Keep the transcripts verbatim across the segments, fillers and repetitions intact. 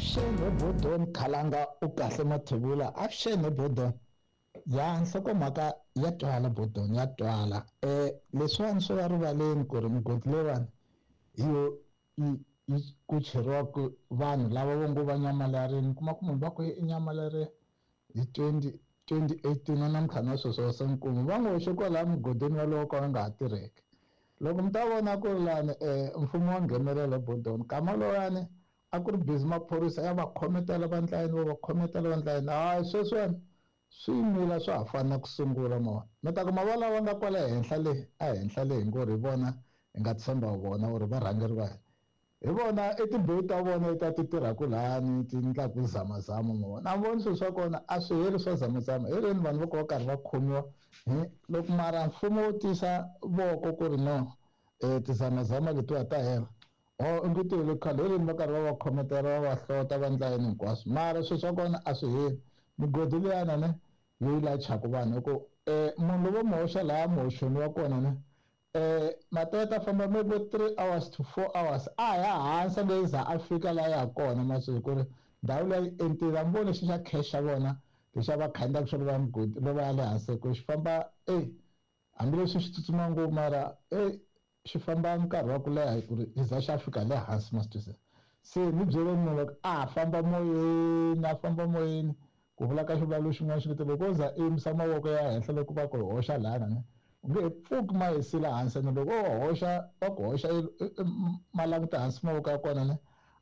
Avuxeni Bodon Khalanga u kahle Mathebula. Avuxeni Bodon. Ya nhlokomhaka ya twala Bodon ya twala. Eh leswiwani swo va rivaleni ku ri migodi leyiwani hi yo yi yi ku cheriwaka vanhu lava vo ngo va nyamalarini kuma ku munhu va ku i nyamalarile hi twenty twenty eighteen na namuntlha na sweswo se nkuma va n'wi hoxe kwalaya mugodini walowo ka wu nga ha tirheki. Loko mi ta vona ku ri lani mfumo wa nghenelela Bodon nkama lowuyani a ku ri busy maphorisa ya va khometela va ndlayini va va khometela va ndlayini hayi sweswiwani swi yimile swa ha fani na ku sungula mona mi ta kuma va lava nga kwala henhla le a henhla le hi ngo ri hi vona hi nga tshemba vona or varhangeri va hina hi vona i timbewu ta vona ta ti tirhaka lani ti endlaku zamazama mona a voni swilo swa kona a swi heri swa zamazama hi rini vanhu va ku va karhi va khomiwa loko mara mfumo wo tisa voko ku ri no um tizamazama letiwa ta hela o i nge tele khale hi rini va karhi va va khometela va va hlota va endla yini hinkwaswo mara swilo swa kona a swi heli migodi liyana ne yi lachaka vanhu hi ku um munhu lowo mu hoxa laha muhoxoni wa kona ne eh mateta famba maybe three hours to four hours a ya hansi nge za a fika la ya kona masiku ku ri ndhawu leyi entile mi vone xi xa cash xa vona lexi a va khandziyaka xona va mugodi lo va ya le hansi ku xi famba e hambileswi xi tsutsuma ngopfu mara e xi famba nkarhi wa ku leha hi ku ri xi za xa fika le hansi ma swi twisisa se ni byele munhu loko a famba moyeni a famba moyeni ku vula ka xivulawulo xin'wana xi loko o za i yimisa mavoko ya henhla loko va ku hoxa lana ne u nge he pfuki ma yisile hansi ene loko o hoxa va ku hoxa ma languta hansi mavoko ya kona ne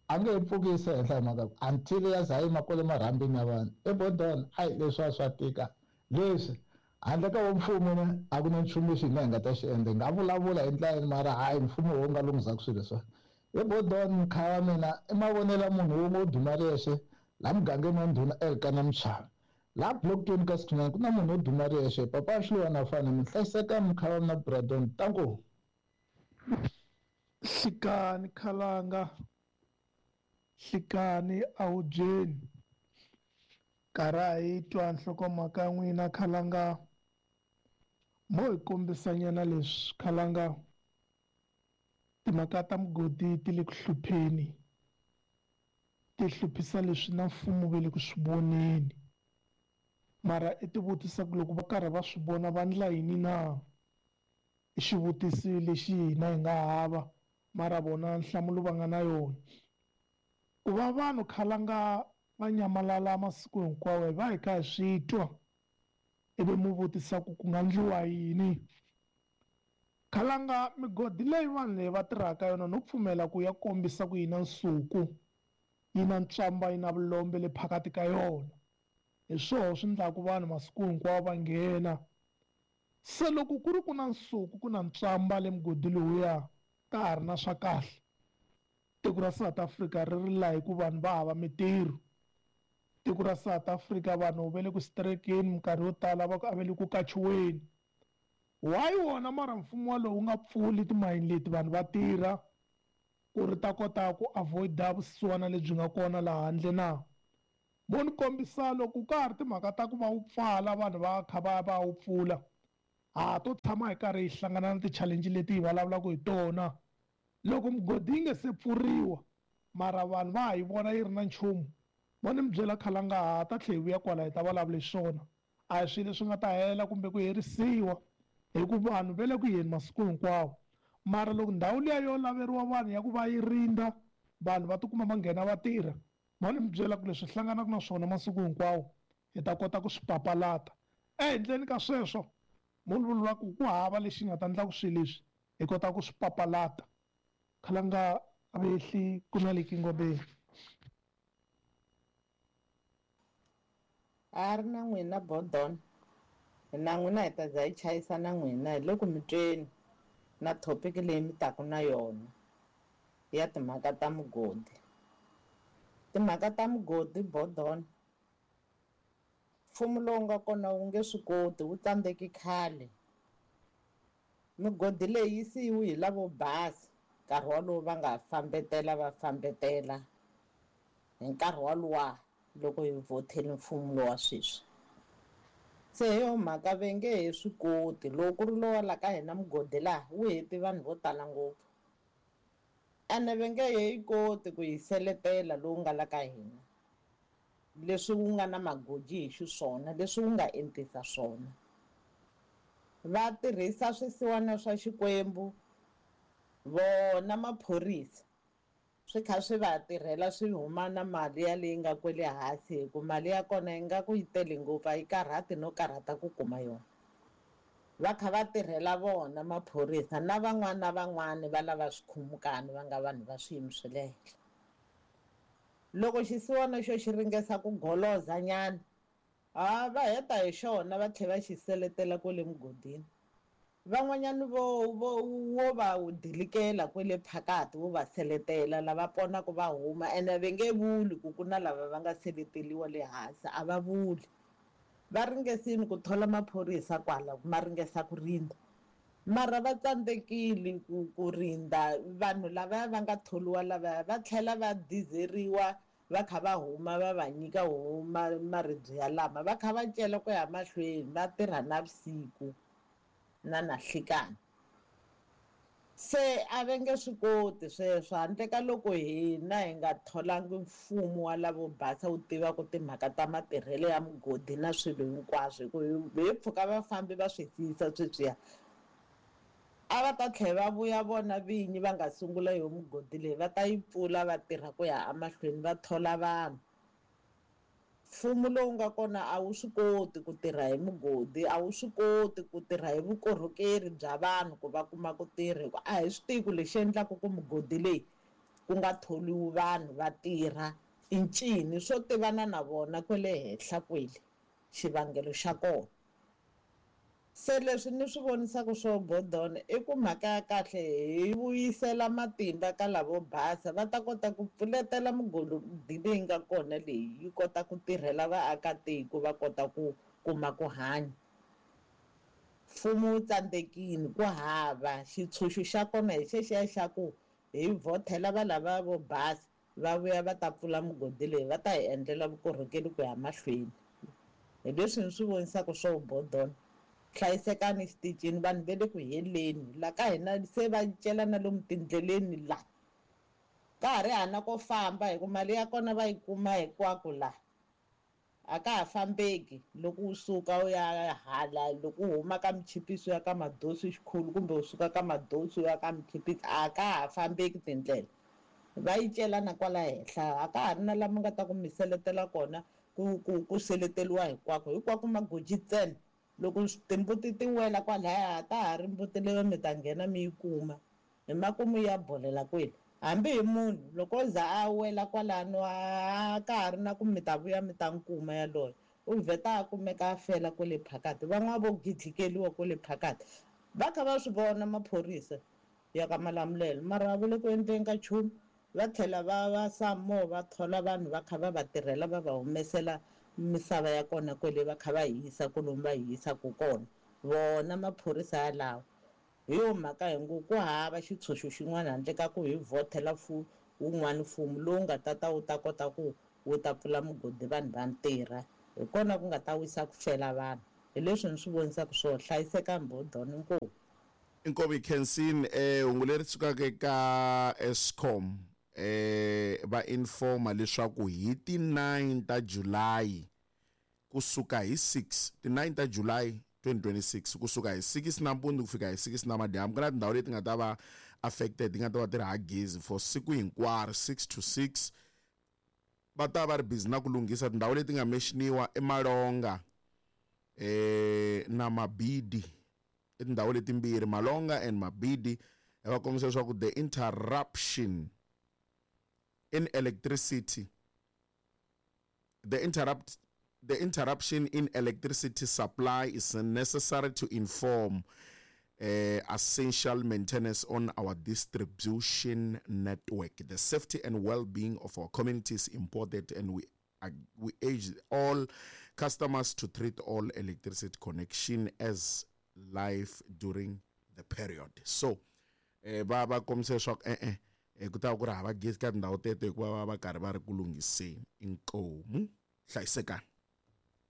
a nge he pfuki yise henhla hi mhaka until ya za yima kwale marhambini ya vanhu eBodon ayi leswiwa swa tika leswi handle ka wo mfumo ne a ku na nchumu lexi hina hi nga ta xi endla hi nga vulavula hi ndlela yini mara hayi mfumo wo nga lunghisaka swilo leswiwa eBodon mkhaya wa mina i mavonelo ya munhu wun'we wo duma riyexe laha mugangeni wa ndhuna Elkana Mchava laha block twenty ka sixty-nine ku na munhu wo duma riyexe papa Xiluva fana mi hlayiseka mkhaya wa mina Bradon tanko Hlikani Khalanga Hlikani awudyeni karhi hi twa nhlokomhaka ya n'wina Khalanga mo hi kombisanyana leswi Khalanga timhaka ta mugodi ti le ku hlupheni ti hluphisa leswi na mfumo ve le ku swi voneni mara i ti vutisa ku loko va karhi va swi vona va ndla yini na i xivutiso lexi hina hi nga hava mara vona nhlamulo va nga na yona ku va vanhu Khalanga va nyamalala masiku hinkwawo hi va hi kha hi swi twa ivi mu vutisa ku ku nga ndliwa yini Khalanga migodi leyi vanhu leyi va tirhaka yona no pfumela ku ya kombisa ku yi na nsuku yi na ntswamba yi na vulombe le phakati ka yona hi swoho swi endlaku vanhu masiku hinkwawo va nghena se loko ku ri ku na nsuku ku na ntswamba le mugodi lowuya ka ha ri na swa kahle tiko ra South Africa ri ri laha hi ku vanhu va hava mitirho tiko ra South Africa vanhu va le ku strikeni minkarhi yo tala va ku a va le ku kachiweni why wona mara mfumo walowu wu nga pfuli timayini leti vanhu va tirha ku ri ta kota ku avoid-a vusiwana lebyi nga kona laha handle na mo ni kombisa loko ka ha ri timhaka ta ku va wu pfala vanhu va kha va va wu pfula ha to tshama hi karhi hi hlangana na ti-challenge leti hi vulavulaka hi tona loko mugodi yi nga se pfuriwa mara vanhu va ha yi vona yi ri na nchumu mo ni mi byela Khalanga ha ta tlhela hi vuya kwala hi ta vulavula hi swona a hi swilo leswi nga ta hela kumbe ku herisiwa hi ku vanhu va le ku yeni masiku hinkwawo mara loko ndhawu liya yo laveriwa vanhu ya ku va yi rindza vanhu va tikuma va nghena va tirha mo ni mi byela ku leswi hlanganaka na swona masiku hinkwawo hi ta kota ku swi papalata ehenhleni ka sweswo munhu vula ku ku hava lexi nga ta endla ku swilo leswi hi kota ku swi papalata Khalanga a va ehli ku na le Kingobeni a ri na n'wina Bodon na n'wina hi ta za hi chayisa na n'wina hi le ku mi tweni na topic leyi mi taku na yona ya timhaka ta mugodi timhaka ta mugodi Bodon mfumo lowu nga kona wu nge swi koti wu tsandzeki khale migodi leyi yi siyiwe hi lavo basa nkarhi walowu va nga fambetela va fambetela hi nkarhi waluwa loko hi vhotele mfumo lowa sweswi se hi yo mhaka va nge he swi koti loko ku ri lowa la ka hina mugodi laha wu heti vanhu vo tala ngopfu Ene va nge he yi koti ku yi seletela lowu nga la ka hina, leswi wu nga na magoji hi xiswona, leswi wu nga entisa swona. Va tirhisa swisiwana swa Xikwembu, vona maphorisa swi kha swi va tirhela, swi huma na mali ya leyi nga kwele hansi, hi ku mali ya kona yi nga ku yi tele ngopfu, a yi karhati no karhata ku kuma yona. Va kha va tirhela vona maphorisa na van'wana na van'wana va lava swikhumukani va nga vanhu va swiyimo swa le henhla. Loko xisiwana xo xi ringesa ku goloza nyana, ha va heta hi xona va tlhela va xi seletela kwale mugodini. Van'wanyana vo vo wo va dilikela kwele phakati, wo va seletela lava ponaka va huma, ene va nge vuli ku ku na lava va nga seleteliwa le hansi, a va vuli. Va ringesini ku thola maphorisa kwala, ma ringesa ku rindza, mara va tsandzekile ku ku rindza vanhu lavaya va nga tholiwa lavaya, va tlhela va dizeriwa va kha va huma va va nyika huma maribye ya lama, va kha va cela ku ya mahlweni, va tirha navusiku na nahlikani. Se a va nge swi koti sweswo handle ka loko hina hi nga tholangi mfumo wa lavo basa wu tivaka timhaka ta matirhelo ya mugodi na swilo hinkwaswo, hi ku hi pfuka vafambi va swi siyisa sweswiya, a va ta tlhela va vuya vona vinyi va nga sungula yo mugodi leyi, va ta yi pfula va tirha ku ya emahlweni, va thola vanhu. Mfumo lowu nga kona a wu swi koti ku tirha hi mugodi, a wu swi koti ku tirha hi vukorhokeri bya vanhu ku va kuma ku tirha, hikuva a hi swi tivi ku lexi endlaka ku mugodi leyi ku nga tholiwi vanhu va tirha i ncini, swo tivana na vona kwale henhla kwele xivangelo xa kona. Se leswi ni swi vonisaka swo Bodon i ku mhaka ya kahle hi vuyisela matimba ka lavo basa, va ta kota ku pfuletela mugodi leyi nga kona leyi yi kota ku tirhela vaakatiko, va kota ku kuma ku hanya. Mfumo wu tsandzekile, ku hava xitshunxo xa kona hi xexiya xa ku hi vhotela va lava vo basa va vuya va ta pfula mugodi leyi, va ta hi endlela vukorhokeri ku ya mahlweni. Hi leswi ni swi vonisaka swo Bodon. Hlayisekani xitichini, vanhu va le ku heleni la ka hina, se va cela na lomu tindleleni la ka ha ri hana ko famba, hi ku mali ya kona va yi kuma hinkwako la, a ka ha fambeki. Loko u suka u ya hala, loko u huma ka Michipiso ya ka Madosi xikhulu kumbe u suka ka Madosi ya ka Michipiso, a ka ha fambeki tindlela, va yi cela na kwala henhla, a ka ha ri na lama nga ta ku mi seletela kona, ku ku ku seleteliwa hinkwako hinkwako magoji ntsena. Loko timbuti ti wela kwalaya, ta ha ri mbuti leyo mi ta nghena mi yi kuma hi makumu ya bolela kwele, hambi hi munhu loko o za a wela kwalano a ka ha ri na ku mi ta vuya mi ta nkuma yaloye, u vheta a kumeka a fela kwele phakati. Van'wana vo gidlikeliwa kwele phakati, va kha va swi vona maphorisa ya ka Malamulele, mara a va le ku endleni ka nchumu. Va tlhela va va samo va thola vanhu va kha va va tirhela, va va humesela misava ya kona kwele, va kha va yi yisa kolomu va yi yisaka kona vona maphorisa yalawo. Hi yo mhaka hi ngo ku hava xitshunxo xin'wana handle ka ku hi vhotela wun'wana mfumo lowu nga ta ta wu ta kota ku wu ta pfula mugodi vanhu va ntirha, hi kona ku nga ta wisa ku fela vanhu. Hi leswi ni swi vonisaka swo hlayisekani Bodon. Inkomu. Inkomu Khensin. Eh hungu leri sukaka eka Eskom eh va informa leswaku hi ti nine ta July kusuka hi six, ti nine ta July twenty twenty-six kusuka hi six nampundzu ku fika hi six namadyambu, ku na tindhawu leti nga ta va affected, ti nga ta va ti ri ha gezi for siku hinkwaro six to six. Va ta va ri busy na ku lunghisa tindhawu leti nga mention-iwa eMalonga eh na Mabidi, i tindhawu letimbirhi, Malonga and Mabidi. Va kombisa leswaku the interruption in electricity, the interrupt the interruption in electricity supply is necessary to inform uh, essential maintenance on our distribution network. The safety and well-being of our community is important, and we uh, we urge all customers to treat all electricity connection as live during the period. So eh va va kombisa leswaku eh eh ku ta ku ri hava gezi ka tindhawu teto hikuva va va karhi va ri ku lunghiseni. Inkomu, hlayisekani.